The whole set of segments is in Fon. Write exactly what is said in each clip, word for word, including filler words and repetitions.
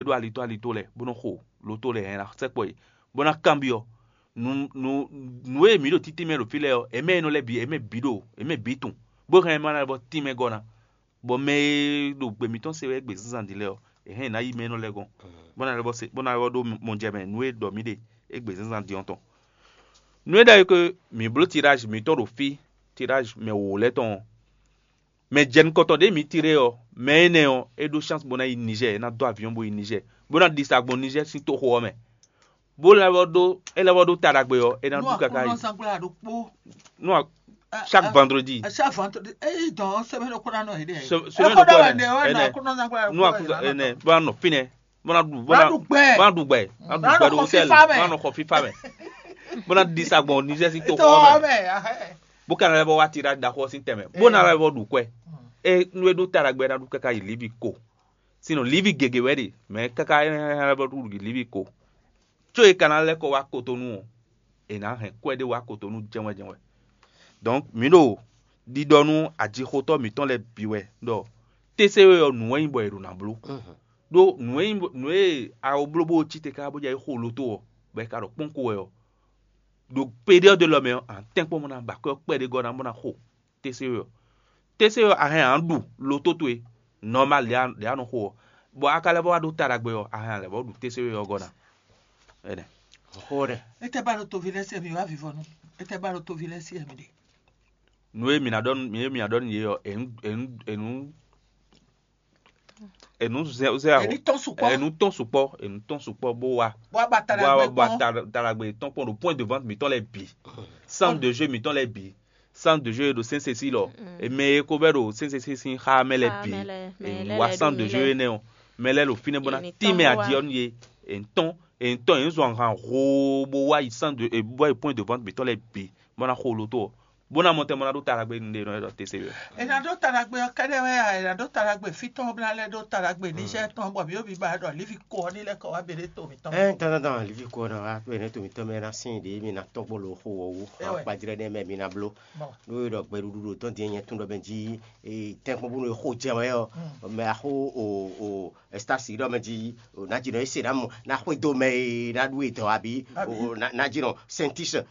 ɖó alitó alitó lɛ́ɛ bó nɔ́ xo loto lɛ́ɛ hɛn ná sɛkpɔ́ yě, bó ná kanbyɔ́ nǔ nǔ nǔ e mǐ ɖo títí mɛ ɖo fí lɛ́ɛ ɔ́, è mɛ e nɔ lɛ́ɛ bǐ è mɛ bǐ ɖo è mɛ bǐ tunwun, bó hɛn ma lɛ́ bɔ tínmɛ gɔ́ ná. Bɔ mɛ e ɖo gbe mǐtɔn se wɛ égbé zínzán din lɛ́ɛ ɔ́, è hɛn è nǎ yi mɛ énɔ́ lɛ́ɛ gɔ́n, bó ná lɛ́ bɔ se bó ná lɛ́ bɔ ɖó mɔ jɛ mɛ nǔ e ɖɔ mǐ ɖe égbé zínzán din ɔ́ tɔn. Nǔ e ɖɔ é ke mǐ bló tirázi mǐtɔn ɖo fí, tirázi mɛ wǒ lɛ́ɛ tɔn ɔ́, mɛ jɛ nukɔntɔn ɖě mǐ tiré ɔ́, mɛ énɛ́ ɔ́, é ɖó chance bó ná yi Niger, é ná dó avion bó yi Niger, bó ná ɖi sa gbɔn Niger sín toxo ɔ́ mɛ, bó lɛ́ vɔ ɖó é lɛ́ vɔ ɖó ta ɖagbe ɔ́, é ná ɖu káká yi. Nú a- chaque vendredi. Chaque vendredi. Eyi dɔn semaine ko na nɔ yi dɛ. Semaine ko na nɔ yi dɛ. Nú a- ɛnɛ bó ná nɔ fínɛ́, bó ná ɖu bó ná ɖu gbɛ, bó ná ɖu gbɛ ɖo hôtel, bó ná nɔ xɔ fífá mɛ, bó ná ɖi sa gbɔn Niger sín toxo ɔ́ mɛ, bó ka ná lɛ́ vɔ wá tiɖa ɖaxó ɔ́ sín tɛnmɛ, bó ná lɛ́ vɔ ɖu kwɛ. É nú é ɖó ta ɖagbe ná ɖu káká yi Livi ko. Sinɔ Livi gěgé wɛ ɖe, mɛ káká é ná lɛ́ vɔ ɖu Livi ko. Có é ka ná lɛ́ kɔ wá Kotonu ɔ́, è nǎ hɛn kwɛ́ ɖé wá Kotonu jɛ́nwɛ jɛ́nwɛ. Donc mǐ ɖo ɖiɖɔ nú ajixotɔ́ mǐtɔn lɛ́ɛ bǐ wɛ ɖɔ T C E ɔ́ nǔ wɛ nyí bɔ è ɖo ná bló. Ɖó nǔ e nyí nǔ e a ko bló bó cí te káká bó jɛ yi xo loto ɔ́, bɔ è ka ɖɔ kpɔ́n ko wɛ ɔ́, ɖo période lɔ mɛ ɔ́, a nǎ tɛ́nkpɔ́n bó ná ba akwɛ́ ɔ́ kpɛɖé gɔ́ ná bó ná xo T C E ɔ́. T C E ɔ́, a hɛn a nǎ ɖu loto towe normal ɖě a nɔ xo ɔ́, bɔ a ka lɛ́ vɔ wá ɖó ta ɖagbe ɔ́, a hɛn a lɛ̌ vɔ ɖu T C E ɔ́ gɔ́ ná. Ɛnɛ. Xo ɖɛ. Etɛ ba ɖo tovi lɛ́ɛ se mi wá vivɔnu. Etɛ ba ɖo tovi lɛ́ɛ se mi ɖe. Nǔ e mǐ ná ɖɔ nú mǐ e mǐ ná ɖɔ nú yě ɔ́, è nǔ è nǔ è nǔ è nǔ zɛ zɛ Ènú tɔn sukpɔ́. È nǔ tɔn sukpɔ́, è nǔ tɔn sukpɔ́ bó wá. Bó wá ba ta bó wá ɖagbe ba kpɔ́n. Ta ta ɖagbe tɔn kpɔn ɖo point de vente mǐtɔn lɛ́ɛ bǐ, centre de jeu mǐtɔn lɛ́ɛ bǐ, centre de jeu e ɖo Sɛnsesi lɔ, e mɛ e ko vɛ ɖo Sɛnsesi sín xá mɛ lɛ́ɛ bǐ, è wá centre de jeu énɛ́ ɔ́, mɛ lɛ́ɛ ɖo fínɛ́ bó ná tín mɛ aji ɔ́ nú yě. È nǔ tɔn è nǔ tɔn è nǔ zɔn ahan hoo bó wá yi centre de bó wá yi point de vente mǐtɔn lɛ́ɛ bǐ bó ná xo loto ɔ́, bó ná mɔ tɛn bó ná ɖó ta ɖagbe nú ɖe nɔ e ɖɔ T C E. È nǎ ɖó ta ɖagbe ɔ́ kɛ́ɖɛ́ wɛ a? È nǎ ɖó ta ɖagbe fí tɔn bó ná lɛ́ ɖó ta ɖagbe Niger tɔn bɔ mǐ ɖo biba ɖɔ Livi ko ɔ́ ní lɛ́ kɔ wá běɖé to mǐtɔn. Ɛn dandandan Livi ko ɔ́ ná wá to ɛnɛ to mǐtɔn mɛ ná sín ɖě mi ná tɔ́n kpó lo xo wɔ̌ wú akpajlɛ́ nɛ́ mɛ mi ná bló. Ɖó e ɖɔ gbɛɖuɖu ɖo tɔn din nyɛ tún ɖɔ mɛ jí tɛ́nkpɔ́n bónú e xo jɛ wɛ ɔ́, mɛ axó o o Estasi ɖɔ mɛ jí o ná jí nɔ ese ná mɔ ná xwedó mɛ e ná ɖu edɔ abi o ná jí nɔ Sɛntis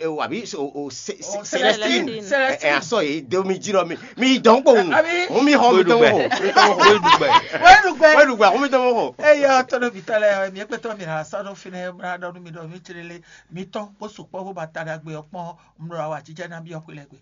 o abi o Celestine. Ɛ asɔ e de mi jí nɔ mi mi dɔn kpowun. Hun mi xɔ mi tɔn xo. Wéɖugbɛ. Wéɖugbɛ. Hun mi tɔn xo. Eye ɔtɔnɔ bi tɔ lɛ mi ekpɛtɔ mi na sɔ ɖo fi nɛ na ɖɔ nu mi ɖɔ mi tsele le mi tɔn kó sukpɔ bó ba ta ɖagbe ɔkpɔn. Mlɔ awa jijɛ na bi ɔkui lɛ gbe.